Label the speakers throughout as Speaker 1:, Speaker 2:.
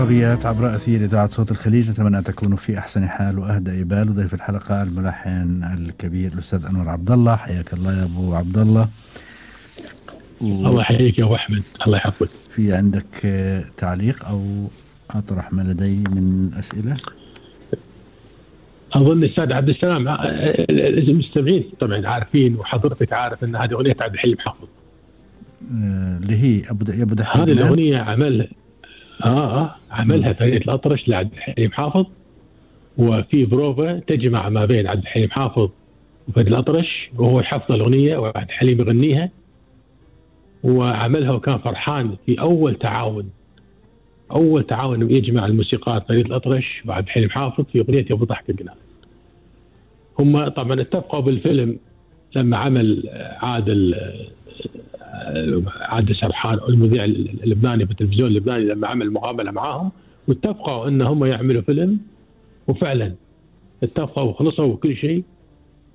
Speaker 1: العربيات عبر أثير إذاعة صوت الخليج. أتمنى أن تكونوا في أحسن حال وأهدى إبال. وضيف الحلقة الملحن الكبير الأستاذ أنور عبد الله. حياك الله يا أبو عبد الله.
Speaker 2: الله يحييك يا أبو أحمد، الله يحفظك.
Speaker 1: في عندك تعليق أو أطرح ما لدي من أسئلة؟
Speaker 2: أظن الأستاذ عبد السلام المستمعين طبعا عارفين، وحضرتك عارف أن هذه أغنية عبد الحليم حافظ
Speaker 1: اللي هي أبو دحيح.
Speaker 2: هذه الأغنية عملها فريد الأطرش لعبد الحليم حافظ، وفي بروفا تجمع ما بين عبد الحليم حافظ وفريد الأطرش، وهو يحفظ الأغنية وعبد الحليم يغنيها، وعملها وكان فرحان في أول تعاون يجمع الموسيقار فريد الأطرش وعبد الحليم حافظ في أغنية أبو ضحك الجنان. هم طبعا اتفقوا بالفيلم لما عمل عادل سرحان المذيع اللبناني في التلفزيون اللبناني، لما عمل مقابلة معاهم واتفقوا ان هم يعملوا فيلم، وفعلا اتفقوا وخلصوا وكل شيء،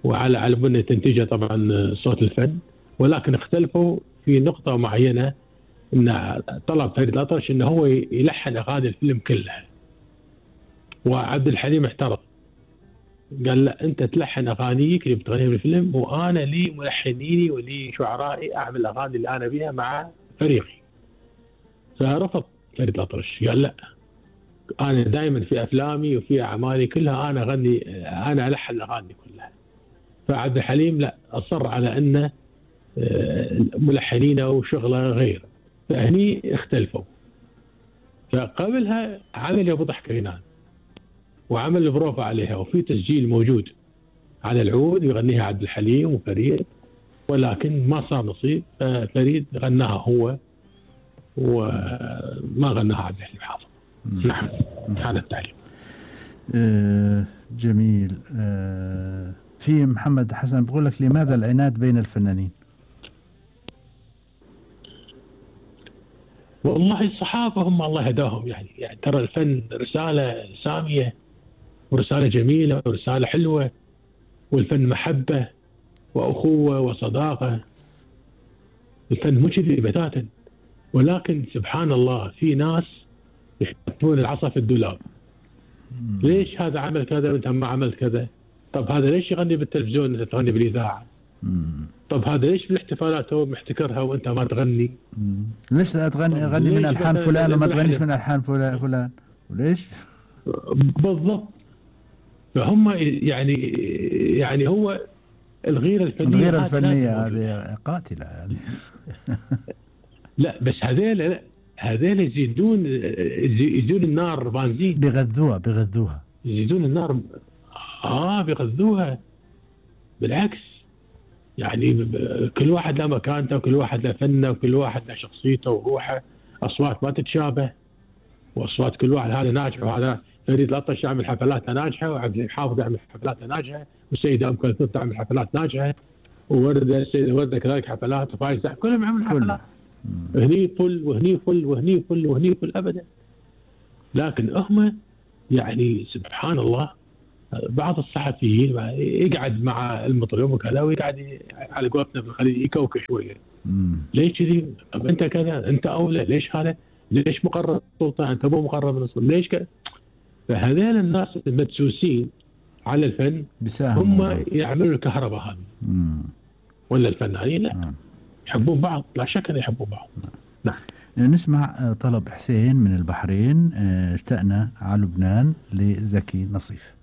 Speaker 2: وعلى بنية تنتجه طبعا صوت الفن، ولكن اختلفوا في نقطة معينة، ان طلب فريد الأطرش انه هو يلحن اغاني الفيلم كلها، وعبد الحليم احترق قال لا انت تلحن اغانيك اللي بتغنيها بالفيلم، وانا لي ملحنيني ولي شعرائي اعمل الاغاني اللي انا بيها مع فريقي. فرفض فريد الأطرش، قال لا انا دائما في افلامي وفي اعمالي كلها انا اغني، انا الحن الاغاني كلها. فعبد الحليم لا، اصر على ان ملحنينه وشغله غير، فهني اختلفوا. فقبلها عمل ابو ضحك غنان وعمل البروفا عليها، وفي تسجيل موجود على العود يغنيها عبد الحليم وفريد، ولكن ما صار نصيب، فريد غناها هو وما غناها عبد الحليم حافظ. نعم هذا التعليق.
Speaker 1: جميل. في محمد حسن بقول لك لماذا العناد بين الفنانين؟
Speaker 2: والله الصحافة هم الله هداهم، يعني ترى الفن رسالة سامية ورسالة جميلة ورسالة حلوة، والفن محبة وأخوة وصداقة، الفن مو كذي بتاتا، ولكن سبحان الله في ناس يحطون العصا في الدولاب. ليش هذا عمل كذا وانت ما عملت كذا؟ طب هذا ليش يغني بالتلفزيون وانت تغني بالإذاعة؟ طب هذا ليش بالاحتفالات هو محتكرها وانت ما تغني؟
Speaker 1: ليش تغني من ألحان فلان وما تغنيش من ألحان فلان؟ وليش؟
Speaker 2: بالضبط. فهم يعني هو الغيرة
Speaker 1: الفنية هذه قاتلة يعني.
Speaker 2: لا بس هذيل يزيدون النار بنزين،
Speaker 1: بيغذوها
Speaker 2: يزيدون النار. بيغذوها بالعكس، يعني كل واحد له مكانته وكل واحد له فنه وكل واحد له شخصيته وروحه، اصوات ما تتشابه، واصوات كل واحد هذا ناجح وهذا. فريد الأطرش يعمل حفلات ناجحه، وعبد الحليم حافظ يعمل حفلات ناجحه، والسيده ام كلثوم تعمل حفلات ناجحه، وورده كذلك حفلات، وفايز كلهم يعملون حفلات. هني فل وهني فل وهني فل وهني فل ابدا. لكن هم يعني سبحان الله بعض الصحفيين يقعد مع المطرب وكذا، ويقعد على قولتنا في الخليج يكوكش شويه. ليش كذي؟ طب انت كذا، انت اولى، ليش هذا؟ ليش مقرب السلطه؟ انت مو مقرب من السلطه، ليش كذا؟ فهذول الناس المدسوسين على الفن هم يعملوا الكهرباء هذه. ولا الفنانين لا، يحبون بعض، لا شك ان يحبون بعض. نعم.
Speaker 1: نسمع طلب حسين من البحرين، اشتقنا على لبنان لزكي نصيف.